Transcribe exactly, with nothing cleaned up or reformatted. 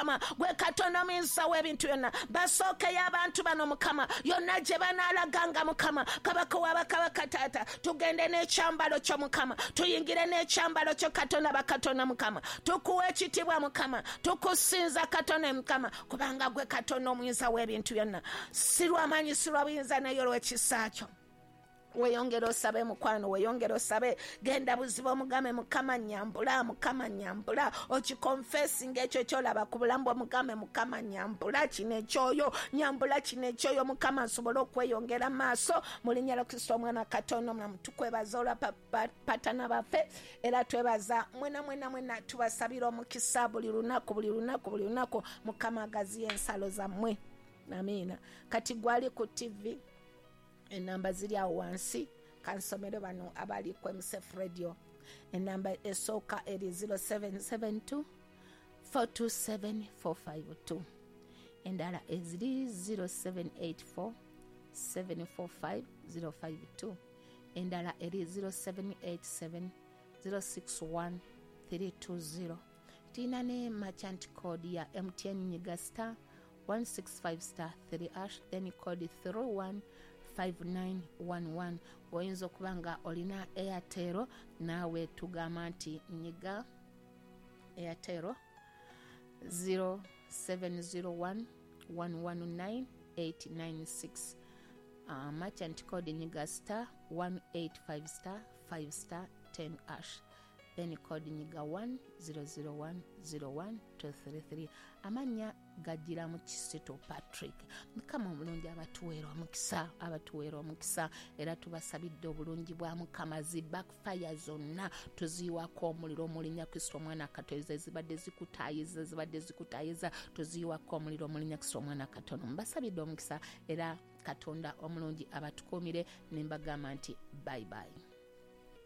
Mukama, gwe Katonda omuyinza w'ebintu byonna. Basookeyo abantu bano Mukama, yonna gye banaalaganga Mukama, Kabaka w'abakabaka taata, tugende n'ekyambalo kyo Mukama, tuyingire n'ekyambalo kyo Katonda bakatonda Mukama. Tukuwa ekitiibwa Mukama, tukusinza Katonda Mukama, kubanga gwe Katonda omuyinza w'ebintu byonna. Si lw'amaanyi, si lwa buyinza, naye olw'ekisa kyo. Weeyongere osabe mukwano, weeyongere osabe, genda buziba omugambe Mukama nyambula, Mukama nyambula, okiconfessinga ekyo ky'olaba ku bulamu bwo, mugambe Mukama nyambula kino ekyoyo, nyambula kino ekyoyo Mukama, nsobole okweyongera maaso mu linnya lya Kristo omwana Katonda omulamu. Tukwebaza olwa patana baffe, era twebaza mwena mwena mwena, tubasabira omukisa buli lunaku, buli lunaku, buli lunaku. Mukama agaziye ensalo zammwe, amiina. Kati gwali ku T V, enamba ziri awo wansi, kansomere bano abali ku M S F Radio. Enamba esooka eri zero seven seven two four two seven four five two, endala eziri zero seven eight four seven four five zero five two, endala eri zero seven eight seven zero six one three two zero. Tulina ne merchant code ya M T N nyiga star one six five star three hash, then code three one five nine one one. Oyinza okuba nga olina Airtel, naawe tugamba nti nyiga Airtel zero seven zero one one one nine eight nine six. Uh, merchant code nyiga star one eight five star five star ten hash, then code nyiga one zero zero one zero one two three three. Amanya gajira mu Kisito Patrick. Mukama omulungi abatuweera omukisa, abatuweera omukisa, era tubasabidde obulungi bwa Mukama. Zi backfire zonna tuziyiwako omuliro mu linnya Kristo omwana Katonda, ezibadde zikutaayiza, zibadde zikutaayiza, tuziyiwako omuliro mu linnya Kristo omwana Katonda. Mbasabidde omukisa, era Katonda omulungi abatukuumire, ne mbagamba nti bye bye.